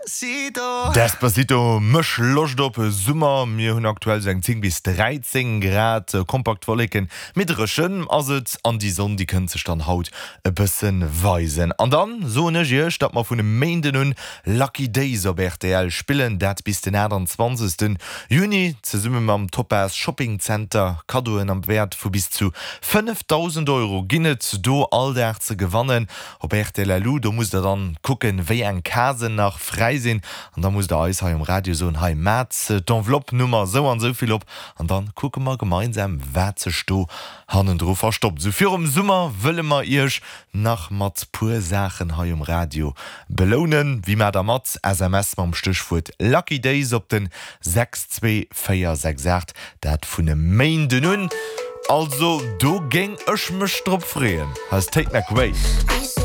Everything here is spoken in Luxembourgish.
Despacito mécht Loscht op Summer. Mir hunn aktuell sou eng 10 bis 13 Grad, kompakt Wolleken, mee dréchen ass et an déi Sonn déi kënnt sech dann haut e bësse weisen. An dann soen ech iech, datt mer vun e Méinden un Lucky Days op rtl spillen, dat bis den 28 Juni, zesumme mam Topaz Shopping Center. Kaddoen am Wäert vu bis zu 5.000 Euro ginn et do all Dag ze gewannen. Op rtl LU, do musst der dann kucken wéi eng Casen nach fräi sinn an da musst der eis hei um Radio soen, hei maat d'Enveloppe Nummer sou an sou vill op an dann kucke mer gemeinsam wat sech do hannendru verstoppt. Sou virum Summer wëlle mer iech nach mat puer Saachen hei um Radio belounen. Wie maat der mat? SMS mam Stéchwuert Lucky Days op den 62468, dat vun e Méinden un. Also do géing ech mech drop freeën. Hei ass Tate McRae.